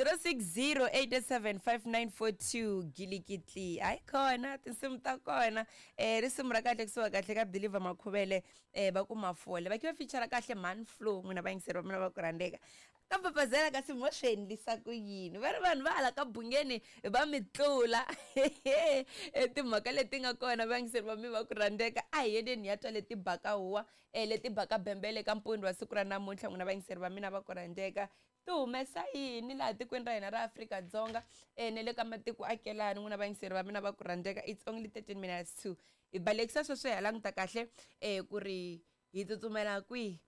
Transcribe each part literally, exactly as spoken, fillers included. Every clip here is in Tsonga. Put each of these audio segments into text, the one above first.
zero six zero eight seven five nine four two gilikitli hayi khona tinsimu ta kona um risimu ra kahle kusuka kahle ka Believer Makhuvele um va ku mafole va khiva feature kahle man flow n'wina vayingiseri va mina va ku rhandzeka ka papazela kasi mo swi endlisa ku yini va ri vanhu va hala ka bungeni va mi tlula timhaka leti nga kona vayingiseri va mi va ku rhandzeka a hi yeleni hi ya twa leti baka huwa um leti baka bembele ka mpundzu wa siku ra namuntlha n'wina vayingiseri va mina va ku rhandzeka ti humesa yini laha tikweni ra hina ra Afrika-Dzonga um na le ka matiko akelani n'wina vayingiseri va mina va ku rhandzeka it's only thirteen minutes to hi balekisa sweswo hi ya languta kahle um ku ri hi tsutsumela kwihi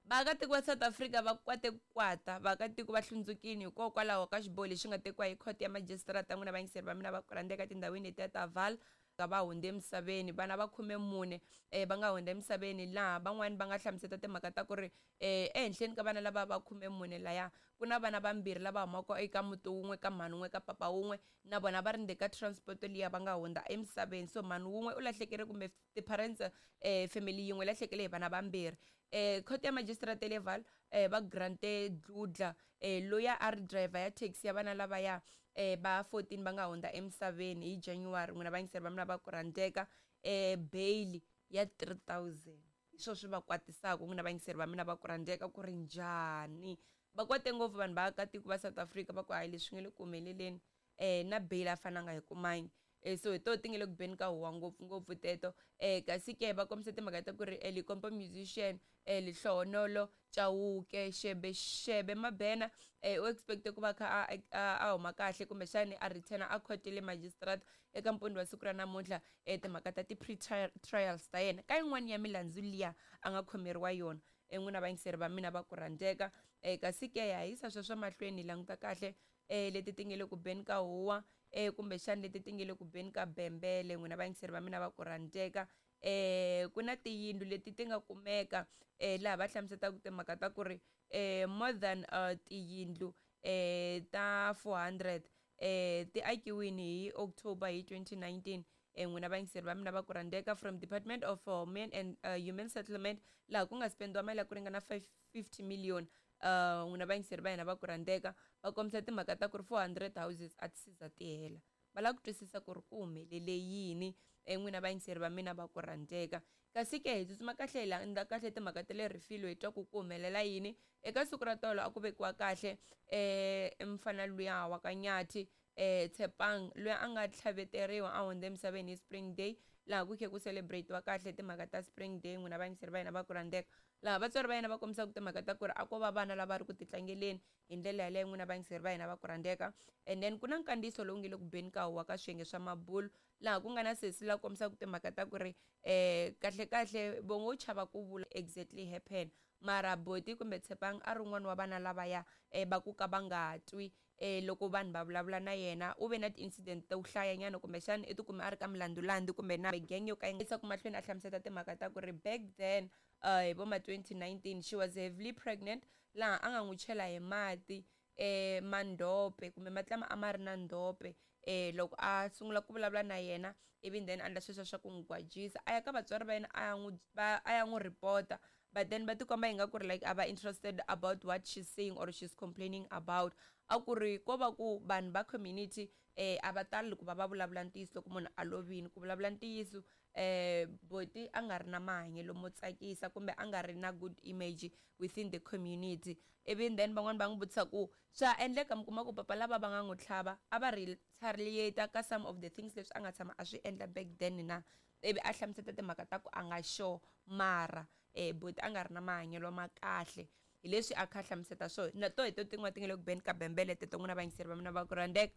vaakatiko va South Africa va kwate ku kwata vaakatiko va hlundzukile hikokwalaho ka xiboho lexi nga tekiwa hi khoto ya majisitarata n'wina vayingiseri va mina va ku rhandzeka etindhawini letiya ta Vaal va hundze emisaveni vana va khume mune um va nga hundza emisaveni laha van'wani va nga hlamuseta timhaka ta ku ri um ehenhleni ka vana lava va khume mune laya ku na vana vambirhi lava humaka eka muti wun'we ka mhani wun'we ka papa wun'we na vona va ri ndzeni ka transport liya va nga hundza emisaveni so mhani wun'we u lahlekele kumbe ti-parents um family yin'we lahlekele hi vana vambirhi um khoto ya majisitarata le Vaal um va grante Dludla um loyi a ri driver ya taxi ya vana lavaya um va fourteen va nga hundza emisaveni hi January n'wina vayingiseri va mina va ku rhandzeka um bail ya three thousand hi swona swi va kwatisaka n'wina vayingiseri va mina va ku rhandzeka ku ri njhani va kwate ngopfu vanhu va akatiko va South Africa va ku hayi leswi nga le ku humeleleni um na bail a fananga hi kumangi um so hi toho ti nga le ku beni ka huwa ngopfungopfu teto um kasi ke va kombisa timhaka ta ku ri Limpopo musician um Lehlohonolo Chauke Shebe Shebe Mabena um u expect ku va kha a a huma kahle kumbexani a return a court le magistrate eka mpundzu wa siku ra namuntlha um timhaka ta ti-pre trials ta yena ka yin'wani ya milandzu liya a nga khomeriwa yona n'wina vayingiseri va mina va ku rhandzeka um kasi ke ha yisa sweswo mahlweni hi languta kahle um leti ti nga le ku beni ka huwa um kumbexani leti ti nga le ku beni ka bembele n'wina vayingiseri va mina va ku rhandzeka um ku na tiyindlu leti ti nga kumeka um laha va hlamuselaka timhaka ta ku ri um more than uh, tiyindlu um ta four hundred um ti akiwini hi October hi twenty nineteen um n'wina vayingiseri va mina va ku rhandzeka from Department of uh, Men and uh, Human Settlement laha ku nga spendiwa mali ya ku ringana five fifty million uh n'wina vayingiseri va hina va ku rhandzeka va kombisa timhaka ta ku ri four hundred houses a ti se za ti hela va lava ku twisisa ku ri ku humelele yini n'wina vayingiseri va mina va ku rhandzeka kasi ke hi tsutsuma kahle hi landza kahle timhaka ta le Refilwe hi twa ku ku humelela yini eka siku ra tolo a ku vekiwa kahle um mfana luya wa ka Nyathi um Tshepang loyi a nga tlhaveteriwa a hundza emisaveni hi Spring Day laha ku khe ku celebrate-iwa kahle timhaka ta Spring Day n'wina vayingiseri va hina va ku rhandzeka laha vatswari va yena va kombisaka timhaka ta ku ri a ko va vana lava ri ku titlangeleni hi ndlela yaleyo n'wina vayingiseri va hina va ku rhandzeka and then ku na nkandziyiso lowu nge le ku beni ka huwa ka swiyenge swa mabulu laha ku nga na sesi la kombisaka timhaka ta ku ri um kahle kahle vo ngo chava ku vula exactly happen mara boti kumbe Tshepang a ri un'wana wa vana lavaya um va ku ka va nga twi um loko vanhu va vulavula na yena u ve na ti-incident to hlayanyana kumbexana i tikume a ri ka milandzulandzu kumbe na gang yo ka yi nga mahlweni a hlamusela timhaka ta ku ri back then uh hi vo ma twenty nineteen she was heavily pregnant laha a nga n'wi chela hi mati eh mandhope kumbe mati lama a ma ri na ndhope eh loko a sungula ku vulavula na yena ivi then a endla sweswo swa ku n'wi gwajisa a ya ka vatswari va yena a ya n'wi va a ya n'wi report-a but then va tikomba ingaku ri like a va interested about what she's saying or she's complaining about a ku ri ko va ku vanhu va community eh a va tali ku va va vulavula ntiyiso loko munhu a lovini ku vulavula ntiyiso eh boti a nga ri na mahanyelo mo tsakisa kumbe a nga ri na good image within the community ivi then van'wani va n'wi vutisa ku swa endleka mi kuma ku papa lava va nga n'wi tlhava a va retaliate ka some of the things leswi a nga tshama a swi endla back then na ivi a hlamusela timhaka ta ku a nga sure mara eh boti a nga ri na mahanyelo ma kahle hi leswi a kha a hlamusela swona na to hi to tin'wana ti nga le ku beni ka bembele teto n'wina vayingiseri va mina va ku rhandzeka